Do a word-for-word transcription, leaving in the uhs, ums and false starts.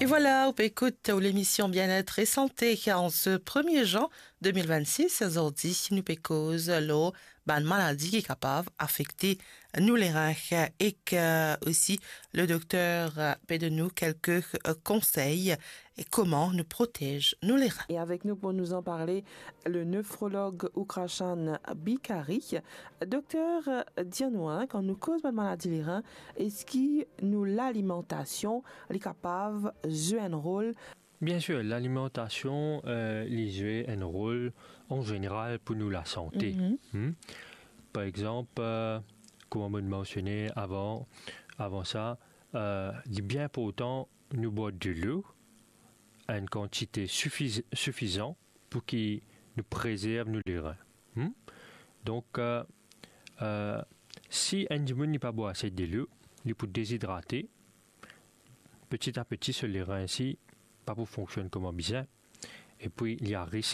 E vwala, ou pe ekout ou lemision Bien-être et Santé an se premie jan de mil vennsis. Azordi, nou pe koz lor bann maladi ki kapav afekte nou lerin ek, euh, osi le dokter, euh, pe donn nou kelke, euh, konsey e kouma nou protez nou lerin. E avek nou pou nou anparle, le nefrolog Ukrashan Bikari. Dokter, dir nou, hein, kan nou koz bann maladi lerin, eski nou lalimantasion li kapav zwe enn rol? Bien sir, lalimantasion, euh, li zwe enn rol an zeneral pou nou lasante. Mhm. Hmm? Par exanp, euh, kouma mo mansione avan, avan sa, euh, li bien inportan nou bwar delo, enn kantite sifiz-, sifizan pou ki nou prezerv nou lerin. Hmm? Donk, euh, euh, si enn dimoun li pa bwar ase delo, li pou dezidrate, peti a peti so lerin si pa pou fonksionn kouma bizin, epi li a ris